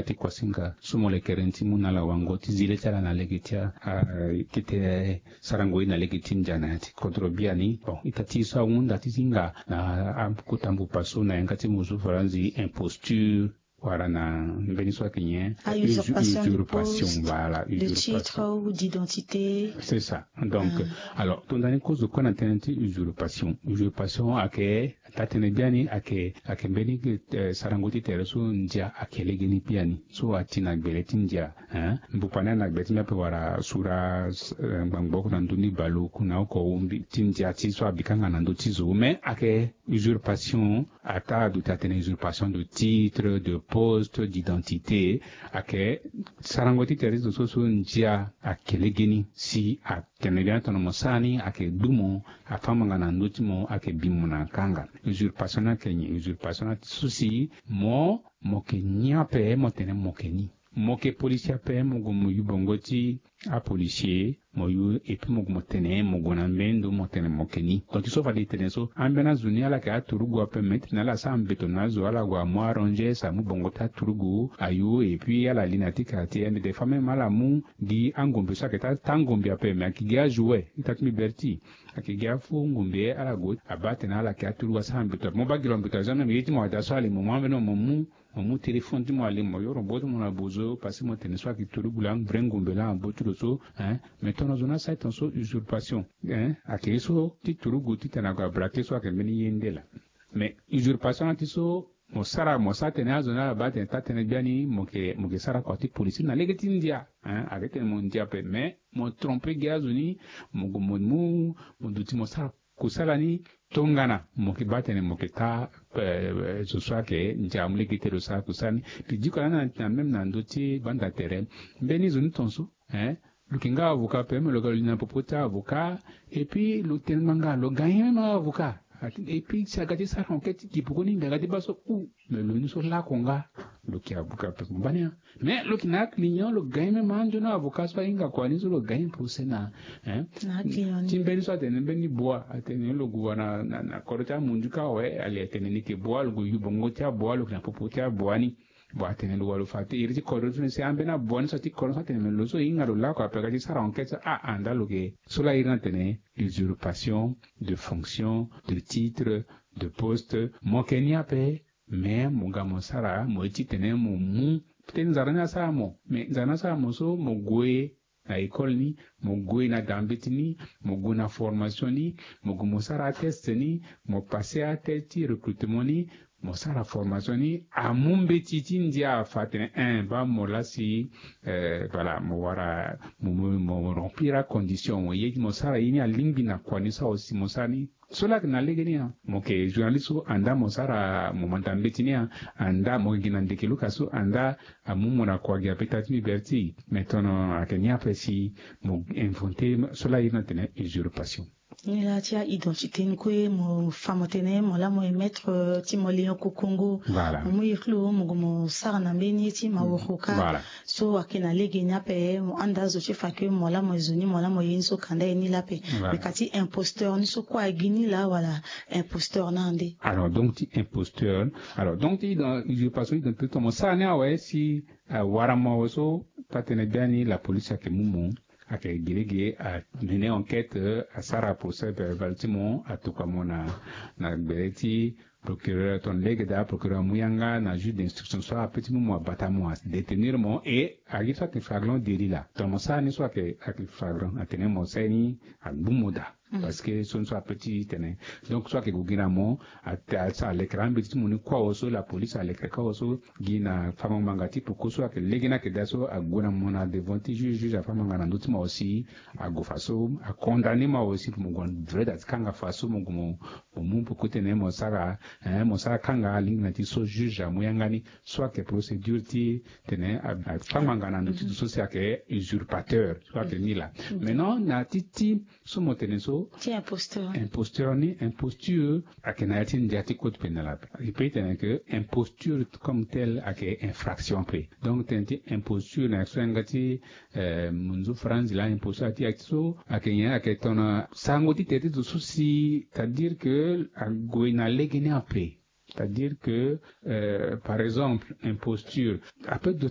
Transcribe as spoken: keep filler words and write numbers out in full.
ti kuasinga so mo lekere ni ti mu na ala wango ti zi le ti ala na lege ti a, a, tete sarango ye na lege ti ndia na ya ti kodro biani. Bon, ita ti e so ahunda ti hinga na akota mbupa so na yanga ti muzu faranzi imposture, wala na mbeni so ayeke nyen? Ah, usurpation de poste, voilà, de titre ou d'identité. C'est ça. Donc, alors, tongana ni kozo kue na tënë ti usurpation. Usurpation ayeke, taa-tënë biani ayeke, ayeke mbeni, eh, sarango ti tere so ndia ayeke lege ni biani. So ati na gbele ti ndia, hein? Mbupa ni na gbele ti mbi ape wala sura, eh, ngbangbo oko na ndö ni bale oko na oko, mbi ti ndia ti so abikanga na ndö ti zo. Mais ayeke usurpation, ataa aduti atene usurpation de titre, de poste, d'identité, ayeke sarango ti tere ti zo so, so ndia ayeke lege ni si atene bien tongana mo sara ni ayeke gbu mo, afa ngbanga na ndö ti mo, ayeke bi mo na kanga. Usurpation ni ayeke nyen? Usurpation ni ati so si mo, mo yeke ni ape mo tene mo yeke ni. Mo yeke policier ape, mo gue mo yu bongo ti apolicier, mo yu, et puis mo gue mo tene, mo gue na mbeni ndo mo tene mo yeke ni. Donc so fade e tene so, ambeni azo ni ala yeke aturugu ape, mais ti tene ala sara mbeto na azo, ala gue amu arangers, amu bongo ti aturugu ayu, et puis ala li na ya ti quartier, mais des fois même ala mu gi angombe so ayeke taa, taa ngombe ape, mais ayeke gi ajouet, ita ti mbi berti. Ayeke gi afo ngombe, ala gue abaa atene ala yeke aturugu asara mbeto ape. Mo baa gi lo mbeto azo, même ye ti mo ada so ala li mo, mo ambeni mo mu, mo mu téléphone ti mo ali, mo yoro bo ti mo na bozo, parce que mo tene so ayeke turugu laa, vrai ngombe laa na bo ti lo so, hein. Mais tongana zo ni asara tongaso usurpation, hein, ayeke ye so ti turugu ti tene ague abraquer so ayeke mbeni ye nde laa. Mais usurpation ni ati so mo sara, mo sara tene azo ni ala baa tene taa-tënë biani mo yeke, mo yeke sara kua ti policier na lege ti ndia, hein, ayeke tene mo ndia ape, mais mo tromper gi azo ni, mo gue mo mu, mo duti mo sara kusala ni tongana mo yeke baa tene mo yeke taa, eh, zo so ayeke ndia amu lege ti lo sara kusala ni. Mbi diko lani na, na même na ndö ti banda tere, mbeni zo ni tongaso, hein, lo yeke nga avocat ape, me lo ga lo li na popo ti avocat, et puis lo tene ngbanga lo gagner même avocat. Et puis si aga ti sara enquête ti gi pekoni, mbi aga ti baa so, ou, mais lo ni so lako nga, lo yeke avocat ape, mo baa ni, hein. Mais lo yeke na aclient, lo gagner même anzoni avocat so ahinga kua ni so lo gagner procès na, hein. Na aclient ni. Ti mbeni so atene mbeni bua, atene lo gue wa na, na, na kodro ti amundu kâ awe, ali atene ni yeke bua, lo gue yu bongo ti abua, lo yeke na popo ti abua ni. Bon, atene lo wa lo fa te iri ti kodro ti lo si ambeni abua ni so ti kodro so atene me lo so e hinga lo lako ape aga ti sara enquête so, ah, ah, nda lo yeke so laa iri ni atene usurpation de fonction, de titre, de poste. Mo yeke ni ape, mais mo ga mo sara, mo ye ti tene mo mu. Peut-être nzara ni asara mo, mais nzara ni asara mo so mo gue na école ni, mo gue na da mbeti ni, mo gue na formation ni, mo gue mo sara atest ni, mo passer atest ti recrutement ni, mo sara formation ni, amu mbeti ti ndia afa atene, eh, baa mo laa si, eh, voilà, mo wara, mo, mo, mo remplir acondition, mo ye ti mo sara ye ni alingbi na kua ni so awe si mo sara ni. So laa ayeke na lege ni, hein. Mo yeke journaliste so, andaa mo sara, mo manda mbeti ni, hein. Andaa mo yeke gi na ndeke luka so, andaa amu mo na kua gi ape, ita ti mbi berti. Mais tongana ayeke ni ape si mo inventer so laa iri ni atene usurpation. Ni laa ti a-identité ni kue, mo fa mo tene mo laa mo ye maître, euh, ti mo lion kokongo. Voilà. Mo mu iri ti lo, mo gue mo sara na mbeni ye ti maworo kâ. Voilà. So ayeke na lege ni ape, mo handa azo ti fa ke mo laa mo ye zo ni, mo laa mo ye ni so kanda ye ni laa ape. Voilà. Me ka ti imposteur ni so kue agi ni laa wala imposteur ni ande? Alors, donc ti imposteur, alors, donc ti dans usurpation d'identité, mo sara ni awe si, euh, awara mo awe so, taa-tënë biani la police ayeke mu mo, ayeke gi lege, amener enquête, euh, asara procès verbal ti mo, atokua mo na, na gbele ti procureur, tongana lege daa procureur amu yanga na juge d'instruction so ape ti mu mo, abata mo, adétenir mo, et agi so ayeke flagrant délit laa. Tongana mo sara ni so ayeke, ayeke flagrant, atene mo sara ye ni, agbu mo daa. Mm. Parce que so ni so ape ti tene. Donc so ayeke gue gi na mo, a, a, alekere ambeti ti mo ni kue awe so, la police alekere kue awe so, gi na fango ngbanga ti peko so ayeke lege ni ayeke daa so, ague na mo na devant ti juge, juge afa ngbanga na ndö ti mo awe si ague fa so, acondamner mo awe si mo gue na vrai da ti kanga fa so mo gue mo, mo mu peko ti tene mo sara, eh, mo sara kanga alingbi na ti so juge amu yanga ni, so ayeke procédure ti tene a, afa ngbanga na ndö ti zo so si ayeke usurpateur, so ayeke ni laa. Mm. Maintenant, na ti, ti so mo tene so, ti imposteur. Imposteur ni, imposture ayeke na ya ti ndia ti code pénal ape. E peut tene que imposture comme telle ayeke infraction ape. Donc tene ti imposture na ya so yanga ti, eh, munzu faranzi laa, imposture ayeke ti so ayeke nyen? Ayeke tongana sarango ti tere ti zo so si, c'est-à-dire que ague na lege ni ape. C'est-à-dire que, par exemple, imposture ape do